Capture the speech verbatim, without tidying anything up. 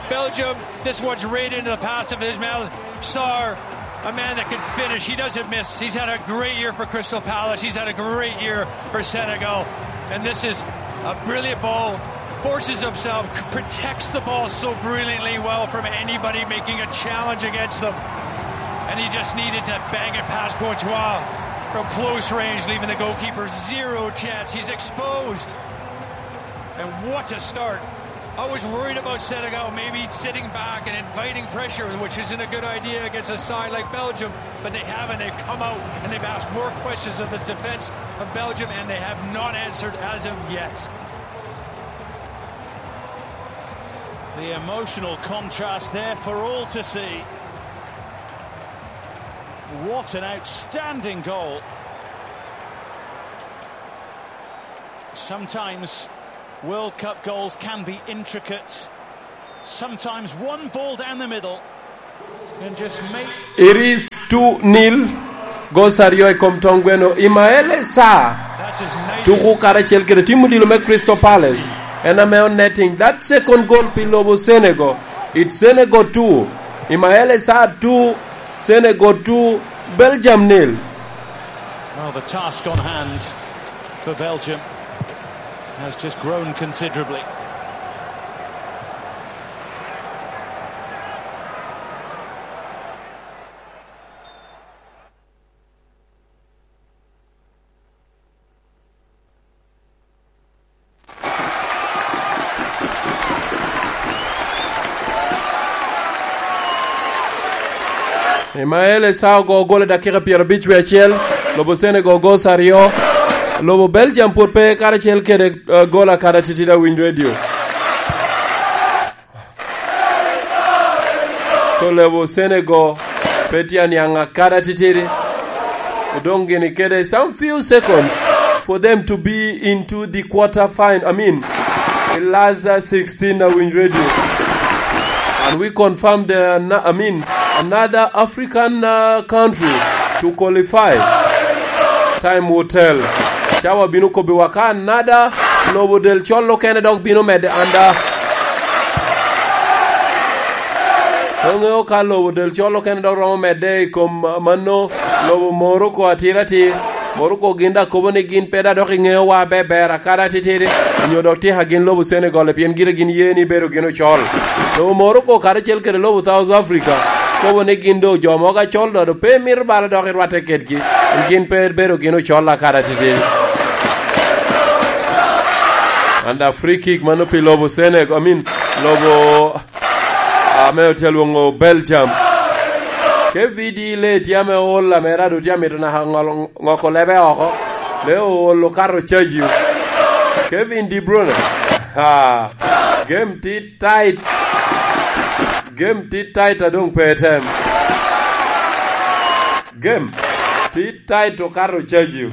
Belgium, this one's right into the path of Ismail Sarr, a man that can finish. He doesn't miss. He's had a great year for Crystal Palace. He's had a great year for Senegal. And this is a brilliant ball. Forces himself, c-, protects the ball so brilliantly well from anybody making a challenge against them. And he just needed to bang it past Courtois from close range, leaving the goalkeeper zero chance. He's exposed. And what a start. I was worried about Senegal maybe sitting back and inviting pressure, which isn't a good idea against a side like Belgium, but they haven't. They've come out and they've asked more questions of the defense of Belgium, and they have not answered as of yet. The emotional contrast there for all to see. What an outstanding goal. Sometimes World Cup goals can be intricate. Sometimes one ball down the middle can just make It is two nil. Goals aryo i kom toŋ gweno. Imaele Sa tuku karacel kede tim odilo me Crystal Palace. En ame on netting that second goal pi lobo Senegal. It's Senegal two. Imaele Sa two. Senegal two. Belgium nil. Well, the task on hand for Belgium has just grown considerably. Imaele Sa ogo gol i dakika pyerabic wie acel, lobo Senegal goals aryo, lobo Belgium pwod pe karacel kede, eh, gol akada titidi awiny redio. So lobo Senegal pe tye aniaŋ akada titidi. Odoŋ gini kede some few seconds for them to be into the quarter final, I mean, the last, uh, sixteen, uh, win radio. And we confirmed, uh, na-, I mean, another African, uh, country to qualify. Time will tell. Cawa bino kobbiwa ka another lobo del col okene dok bino medde anda. Oŋeo ka lobo del col okene dok romo medde i kom mano, lobo Morocco atir atir. Morocco gin daŋ kobo ni gin pe daŋ dok iŋeo wa beber akada titidi, onyo dok tika gin lobo Senegal, pien gire gin ye ni bedo gin ocol. Lobo Morocco karacel kede lobo South Africa kobo ni gin doŋ jo mogo acol dodo pe mito bala dok irwatte kedgi, pien gin pe bedo gin ocol akada titidi. Under free kick mano pi lobo Senegal, I mean, lobo ame otye alwoŋo Belgium. K V D lee tye ame ool, ame rado tye amito naka ŋolo-, ŋoko lebe oko. Lee ool okato caji. Kevin De Bruyne. Ha. Game tit tight. Game tit tight a doŋ pe tem. Game tit tight okato caji.